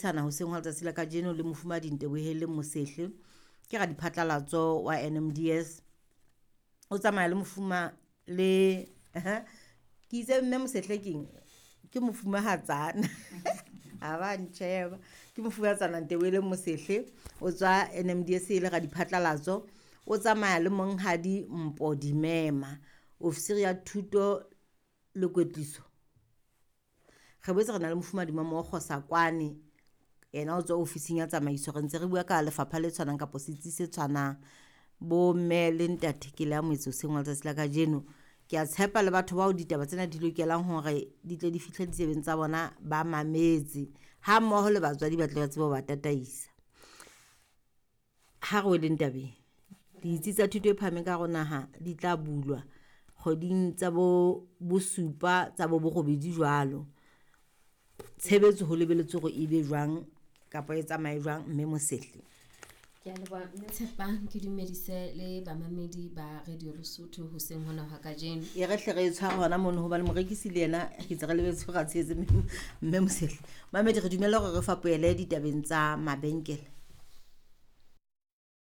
Sana hoseng hwa letsatsi la kajeno le mofumahadi Nteboheleng Mosehle, ke radiphatlalatso wa NMDS. O tsamaya le mofuma le ke itse mme Mosehle keng, ke mofumahatsana ha ba ntjheba, ke mofumahatsana Nteboheleng Mosehle, o tswa NMDS e le radiphatlalatso. O tsamaya le monghadi Mpho Dimema, ofisiri ya thuto le kwetliso. Re boetse re na le mofumahadi Mamokgo Sakwane, yena o tswa ofising ya tsamaiso. Re ntse re bua ka lefapha le tshwanang kapa setsi se tshwanang. Bo mme le ntate, ke le amohetse hoseng hwa letsatsi la kajeno. Ke a tshepa le batho bao ditaba tsena di lokelang hore di tle di fihle ditsebeng tsa bona ba mametse, ha mmoho le batswadi ba tle ba tsebe ho ba tataisa. Ha re weleng tabeng, ditsi tsa thuto e phahameng ka hare ho naha di tla bulwa kgweding tsa bo bosupa tsa bo borobedi jwalo. Tshebetso ho lebelletswe hore e be jwang kapa e tsamaye jwang, mme Mosehle? Ke a leboha mme Tshepang, ke dumedise le bamamedi ba Radio Lesotho hoseng hona hwa kajeno. E re hle re e tshware hona mono hobane morekisi le yena ke tse re lebetse hore a tshehetse mme Mosehle. Mamedi, re dumelle hore re fapohele ditabeng tsa mabenkele.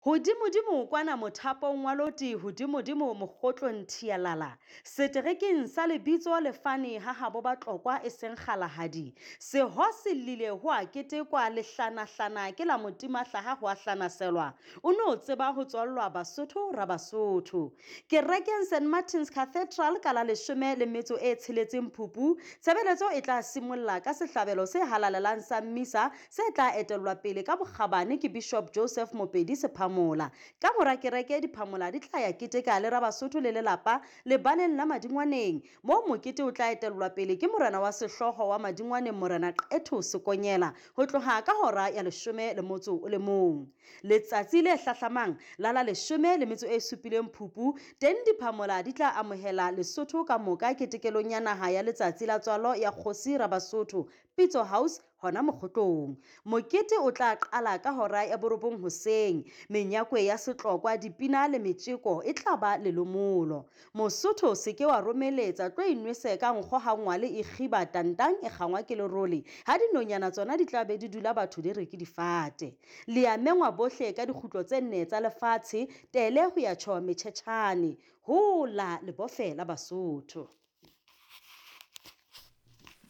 Hodimodimo kwana mothapong wa loti, hodimodimo mokgotlong thialala, seterekeng sa lebitso le fane ha habo Batlokwa e seng Kgalahadi. Seho se llile ho a ketekwa, lehlanahlana ke la motimahlaha ho a hlanaselwa. O no tseba ho tswallwa Basotho ra Basotho. Kerekeng St Martin's Cathedral ka la leshome le metso e tsheletseng Phupu, tshebeletso e tla simolla ka sehlabelo se halalelang sa Mmisa se tla etellwa pele ka bokgabane ke Bishop Joseph Mopedi Sephamola. Ka mora kereke diphamola di tla ya keteka le Rabasotho le lelapa lebaleng la Madingwaneng, moo mokete o tla etellwa pele ke morena wa sehlooho wa Madingwaneng Morena Qetho Sekonyela ho tloha ka hora ya leshome le motso o le mong. Letsatsi le hlahlamang la la leshome le metso e supileng Phupu, teng diphamola di tla amohela Lesotho ka moka ketekelong ya naha ya letsatsi la tswalo ya Kgosi Rabasotho, Pitso House, hona Mokgotlong. Mokete o tla qala ka hora ya borobong hoseng. Menyakwe ya setlokwa, dipina le metjeko e tla ba lelomolo. Mosotho se ke wa romeletsa, tlo inwese ka nkgo ha ngwale e kgiba tantang e kgangwa ke lerole, ha dinonyana tsona di tla be di dula batho di re ke difate. Le a mengwa bohle ka dikgutlo tse nne tsa lefatshe, tele ho ya tjho metjhetjhane. Hola lebofe la Basotho.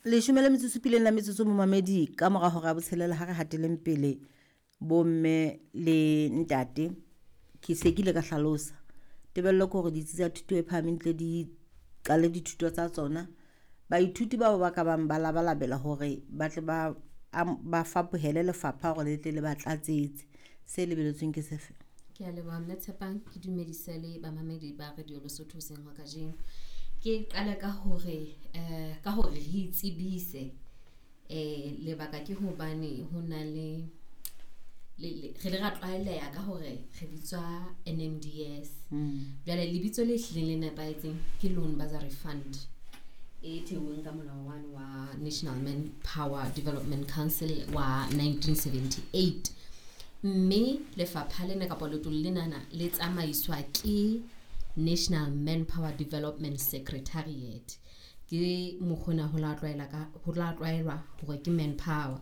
Leshome le metsotso supileng la metsotso momamedi ka mora hora ya botshelela, ha re hateleng pele bomme le ntate. Ke se ke ile ka hlalosa tebello ke hore ditsi tsa thuto e phahameng tle di qale dithuto tsa tsona. Baithuti bao ba ka bang ba labalabela hore ba tle ba ba fapohele lefapha hore le tle le ba tlatsetse. Se lebeletsweng ke sefe? Ke a leboha mme Tshepang, ke dumedise le bamamedi ba Radio Lesotho hoseng hwa kajeno. Ke qale ka hore ka hore re itsebise, lebaka ke hobane ho na le re le ra tlwaeleha ka hore re bitswa NMDS. Jwale lebitso le hlileng le nepahetseng ke Loan Bursary Fund e theuweng ka molao wane wa National Manpower Development Council wa 1978. Mme lefapha lena kapa letlole lenana le tsamaiswa ke National Manpower Development Secretariat. Ke mokgona ho la tlwaela ka ho la tlwaelwa hore ke manpower.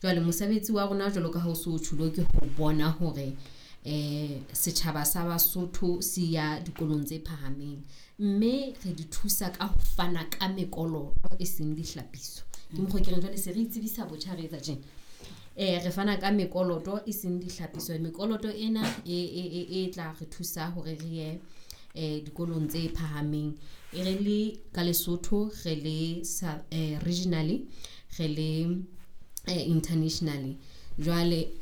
Jwale mosebetsi wa rona jwalo ka ha o so tjhulo ke ho bona hore setjhaba sa Basotho se ya dikolong tse phahameng, mme re di thusa ka ho fana ka mekoloto e seng dihlapiso. Ke mokgwa ke reng jwale se re itsebisa botjha re etsa tjena. Re fana ka mekoloto e seng dihlapiso. Mekoloto ena e tla re thusa hore re ye dikolong tse phahameng. E re le ka Lesotho, re le regionally, re le internationally. Jwale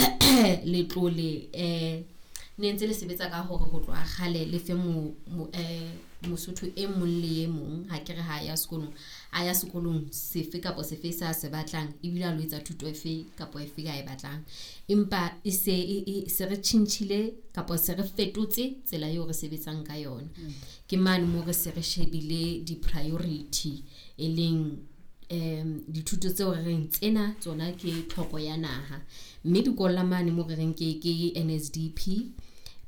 letlole ne ntse le sebetsa ka hore ho tloha kgale le fe Mosotho e mong le e mong, ha ke re ha ya sekolong, a ya sekolong sefe kapa sefe sa se batlang, ebile a lo etsa thuto efe kapa efe a e batlang. Empa e se se re tjhentjhile kapa se re fetotse tsela eo re sebetsang ka yona. Ke mane moo re se re shebile di-priority, e leng dithuto tseo re reng tsena tsona ke tlhoko ya naha. Mme dikolo mane moo re reng ke NSDP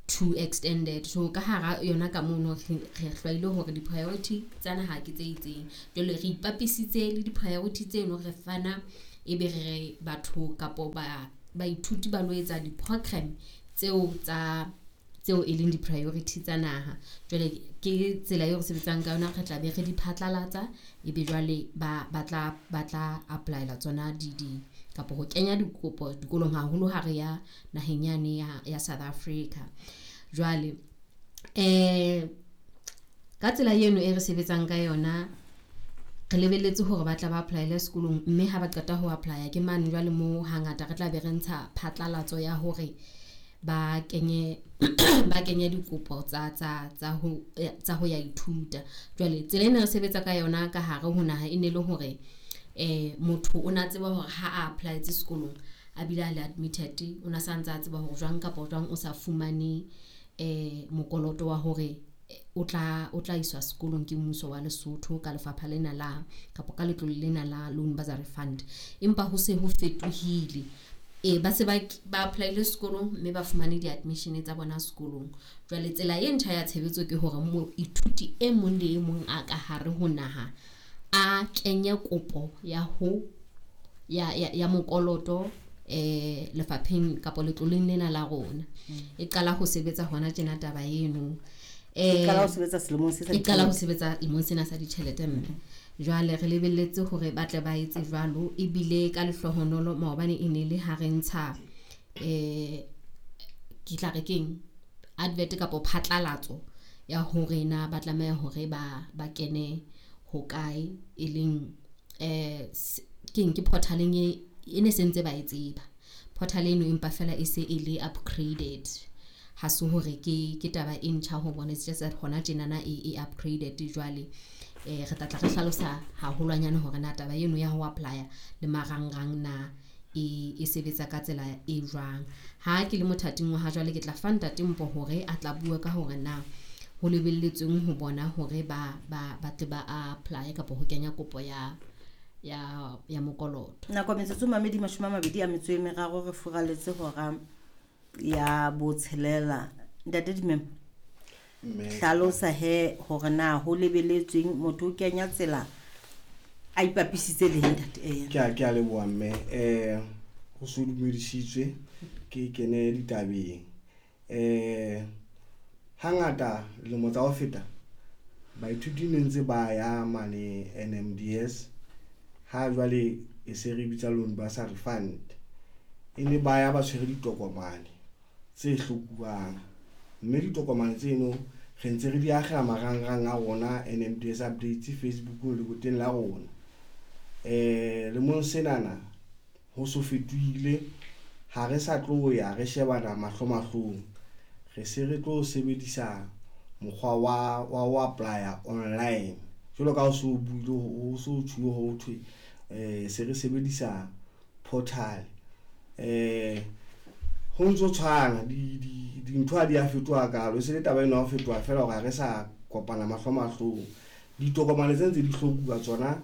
2 extended. So ka hara yona ka mono re hlwaile hore di-priority tsa naha ke tse itseng. Jwale re ipapisitse le di-priority tseno, re fana Ebe re batho kapo ba baithuti ba lo etsa di-program tseo tsa tseo e leng di-priority tsa naha. Jwale ke tsela eo re sebetsang ka yona, re tla be re di phatlalatsa, ebe jwale ba tla apply-ela tsona di kapo ho kenya dikopo dikolong haholo ha re ya naheng yane ya South Africa. Jwale ka tsela eno e re sebetsang ka yona, re lebelletse hore ba tla ba apply-ele sekolong, mme ha ba qeta ho apply-a ke mane jwale moo hangata re tla be re ntsha phatlalatso ya hore ba kenye ba kenye dikopo tsa ho ya ithuta. Jwale tsela ena re sebetsa ka yona ka hare ho naha e ne le hore motho o na tseba hore ha a apply-etse sekolong a bile a le admitted, o na sa ntse a tseba hore jwang kapa jwang o sa fumane mokoloto wa hore o tla iswa sekolong ke mmuso wa Lesotho ka lefapha lena la kapa ka letlole lena la Loan Bursary Fund. Empa ho se ho fetohile, ba se ba apply-ile sekolong mme ba fumane di-admission tsa bona sekolong. Jwale tsela e ntjha ya tshebetso ke hore moithuti e mong le e mong a ka hare ho naha a kenye kopo ya ho ya mokoloto lefapheng kapa letloleng lena la rona. E qala ho sebetsa hona tjena taba eno. E qala ho sebetsa selemong se sa E qala ho sebetsa lemong sena sa ditjhelete mme. Jwale re lebelletse hore ba tle ba etse jwalo, ebile ka lehlohonolo maobane e ne le ha re ntsha ke tla re keng advert kapa phatlalatso ya hore na ba tlameha hore ba kene hokae, e leng keng ke portaleng e ne se ntse ba e tseba. Portal eno empa fela e se e le upgraded, ha se hore ke taba e ntjha ho bona, it's just that hona tjenana e upgraded. Jwale re tla re hlalosa haholwanyane hore na taba eno ya ho apply-a le marangrang na e sebetsa ka tsela e jwang. Ha ke le mothating wa ha jwale ke tla fa ntate Mpho hore a tla bua ka hore na ho lebelletsweng ho bona hore ba tle ba apply kapa ho kenya kopo ya mokoloto. Nako metsotso mamedi 23 re furaletse hora ya 6. Ntate Dimemo, hlalosa he hore na ho lebeletsweng motho o kenya tsela a ipapisitse le ntate. Ke a leboha mme. Ho so dumedisitswe ke kene ditabeng. Hangata dilemo tsa ho feta baithuti ne ntse ba ya mane NMDS, ha jwale e se re bitsa Loan Bursary Fund, e ne ba ya ba tshwere ditokomane tse hlokuwang, mme ditokomane tseno re ntse re di akgela marangrang a rona NMDS updates Facebook le boteng la rona. Lemong senana ho so fetohile, ha re sa tlo ya re shebana mahlo mahlong, re se re tlo sebedisa mokgwa wa ho apply-a online. Jwalo ka ha so buile ho so tjhuwe ho thwe se re sebedisa portal. Ho ntso tshwana dintho ha di a fetoha kalo, e se le taba eno ya ho fetoha fela hore ha re sa kopana mahlo mahlong. Ditokomane tse ntse di hlokuwa tsona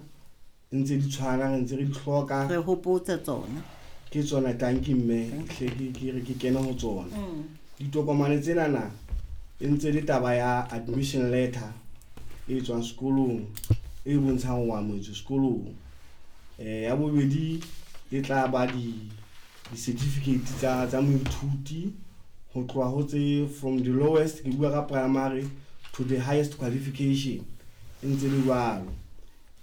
ntse di tshwana, re ntse re di hloka, re hopotse tsona ke tsona. Tanki mme hle ke re ke kene ho tsona. Ditokomane tsenana e ntse le taba ya admission letter e tswang sekolong e bontshang ho amohetswe sekolong. Ya bobedi e tla ba di certificate tsa moithuti ho tloha ho tse from the lowest, ke bua ka primary to the highest qualification, e ntse le jwalo.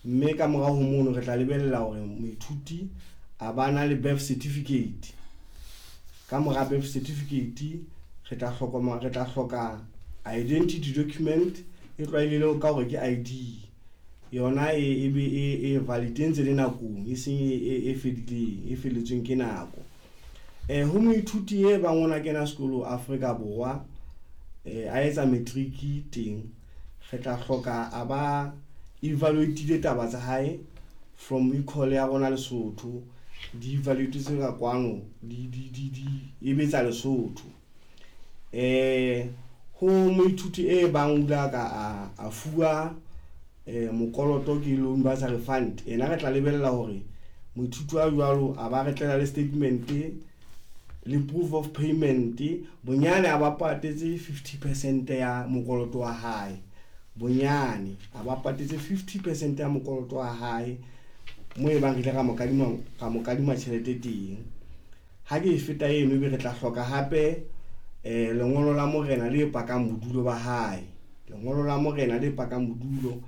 Mme ka morao ho mono re tla lebella hore moithuti a ba na le birth certificate. Ka mora birth certificate re tla hloka identity document e tlwaelehileng ka hore ke ID. Yona e be e valid ntse le nakong, e seng e fedileng, e felletsweng ke nako. Ho moithuti e bang ona kena sekolo Afrika Borwa, a etsa matric teng, re tla hloka a ba evaluate taba tsa hae from ecole ya rona Lesotho, di evaluate tse ka kwano di e betsa Lesotho. Ho moithuti e bang ula ka a fuwa mokoloto ke Loan Bursary Fund, ena re tla lebella hore moithuti wa jwalo a ba re tlela le statement le proof of payment, bonyane a ba patetse 50% ya mokoloto wa hae, bonyane a ba patetse 50% ya mokoloto wa hae. Mo e bang re ile ra mo kadima tjhelete teng. Ha ke e feta eno ebe re tla hloka hape lengolo la morena le pakang bodulo ba hae. Lengolo la morena le pakang bodulo.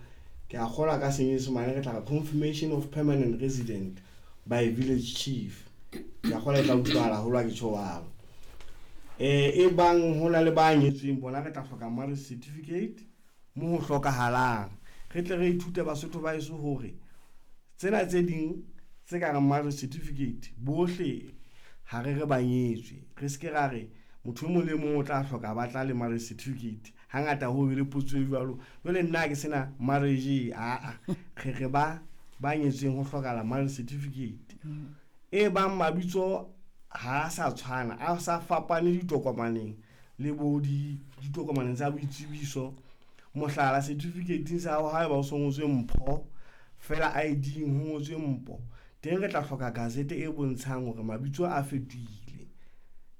Ke a kgolwa ka senyesemane re tla re confirmation of permanent resident by village chief. Ke a kgolwa e tla utlwahala haholo ha ke tjho jwalo. E bang hona le ba nyetsweng bona re tla hloka marriage certificate mo ho hlokahalang. Re tle re ithute Basotho ba heso hore tsena tse ding tse ka reng marriage certificate bohle ha re re ba nyetswe. Re seke ra re motho e mong le mong o tla hloka ba tla le marriage certificate. Hangata ho be le potso e jwalo. Jwale nna ha ke sena marriage aa re re ba nyetsweng ho hlokahala marriage certificate. E bang mabitso ha sa tshwana, a sa fapane ditokomaneng le bo ditokomaneng tsa boitsebiso. Mohlala certificate sa hao haeba o so ngotswe Mpho fela ID ho ngotswe Mpo, teng re tla hloka gazette e bontshang hore mabitso a fetohile.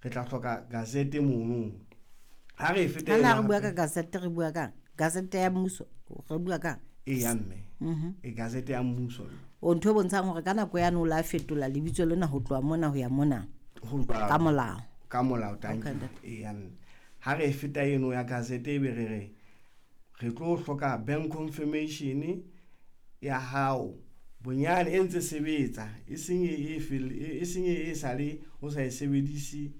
Re tla hloka gazette mono. Ha re e feta ena re bua ka gazette, re bua ka gazette ya mmuso, re bua ka e ya mme. E gazette ya mmuso. O ntho e bontshang hore ka nako ya no la fetola lebitso lena ho tloha mona ho ya mona. Ka molao. Ka molao tang. E ya mme. Ha re e feta eno ya gazette ebe re re re tlo hloka bank confirmation ya hao bonyane e ntse sebetsa, e seng e e seng e sale o sa e sebedise,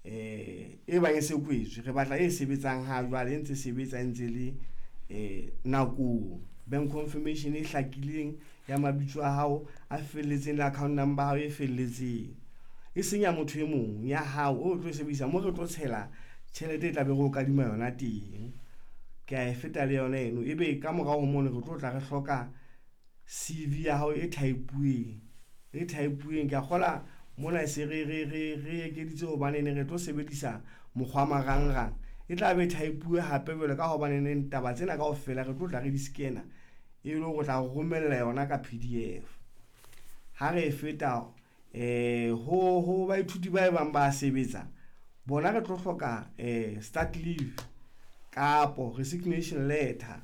e bang e se kwetswe. Re batla e sebetsang ha jwale, e ntse sebetsa e ntse le nakong. Bank confirmation e hlakileng ya mabitso a hao a felletseng le account number ya hao e felletseng, e seng ya motho e mong, ya hao o tlo e sebedisa mo re tlo tshela tjhelete e tla be re o kadima yona teng. Ke a e feta le yona eno. Ebe ka morao ho mono re tlo tla re hloka CV ya hao e type-uweng. E type-uweng ke a kgola mona e se re ekeditse hobane ne re tlo sebedisa mokgwa marangrang. E tla be type-uwe hape jwale ka hobane neng taba tsena kaofela re tlo tla re di scanner e le hore tla romella yona ka PDF. Ha re e feta ho baithuti ba bang ba sebetsa bona re tlo hloka start leave kapo resignation letter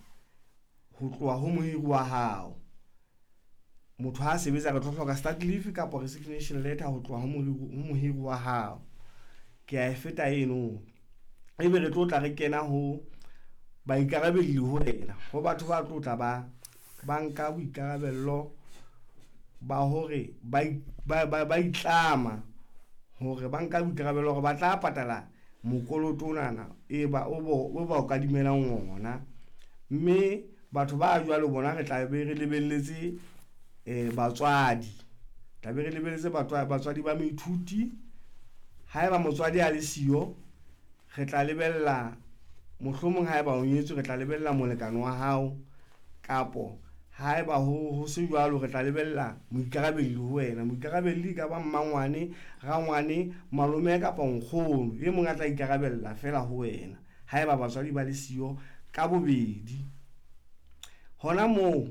ho tloha ho mohiri wa hao. Motho ha sebetsa re tlo hloka start leave kapo resignation letter ho tloha ho mohiri wa hao. Ke a e feta eno. Ebe re tlo tla re kena ho baikarabelli ho wena, ho batho ba tlo tla ba nka boikarabello ba hore ba itlama hore ba nka boikarabello hore ba tla patala mokoloto onana e ba o ba o kadimelang ona. Mme batho ba jwalo bona re tla be re lebelletse batswadi, tla be re lebelletse batswadi ba moithuti. Haeba motswadi a le siyo, re tla lebella mohlomong haeba o nyetswe re tla lebella molekane wa hao, kapo haeba ho se jwalo re tla lebella moikarabelli ho wena. Moikarabelli ka ba mmangwane, rangwane, malome kapa nkgono, e mong a tla ikarabella fela ho wena haeba batswadi ba le siyo ka bobedi. Hona moo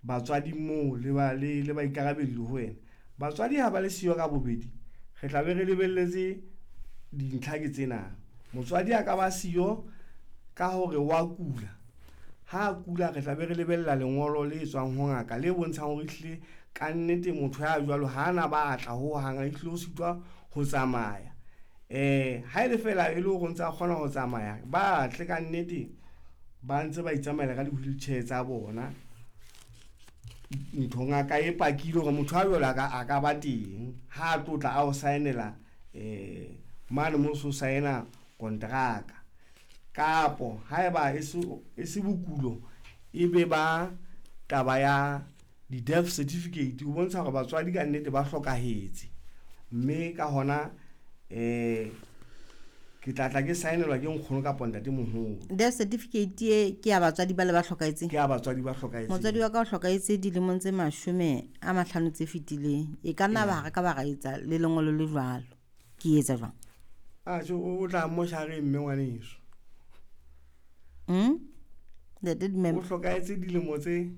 batswadi moo le baikarabelli ho wena. Batswadi ha ba le siyo ka bobedi, re tla be re lebelletse dintlha ke tsena. Motswadi a ka ba siyo ka hore wa kula. Ha kula re tla be re lebella lengolo le tswang ho ngaka le bontshang hore ehlile ka nnete motho ya jwalo ha ana batla ho hang, ehlile o sitwa ho tsamaya. Ha ele fela e le hore o ntse a kgona ho tsamaya, ba tle ka nnete ba ntse ba itsamaela ka di-wheelchair tsa bona. Ntho ngaka e pakile hore motho a jwalo a ka ba teng ha a tlotla a o saenela mane mo so saena kontraka. Kapo haeba e se bokulo, e be ba taba ya di-death certificate ho bontsha hore batswadi ka nnete ba hlokahetse. Mme ka hona ke tla tla ke saenelwa ke nkgono kapa ntatemoholo. Death certificate e ke ya batswadi ba le ba hlokahetseng? Ke ya batswadi ba hlokahetseng. Motswadi wa ka o hlokahetse dilemong tse 50 tse fetileng. E ka nna ba re ka ba ra etsa le lengolo le jwalo. Ke etsa jwang? A tjho o tla moshareng mme ngwaneso. O hlokahetse dilemo tse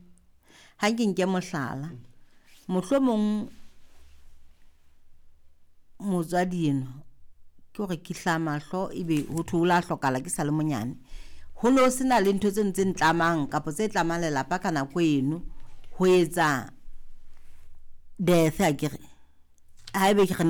ha ke nke mohlala. Mohlomong motswadi eno ke hore ke hla mahlo ebe ho thwe o la hlokala ke sa le monyane. Ho no sena le ntho tse ntse ntlamang kapa tse tlamang lelapa ka nako eno ho etsa Death akere haebe ke re ne.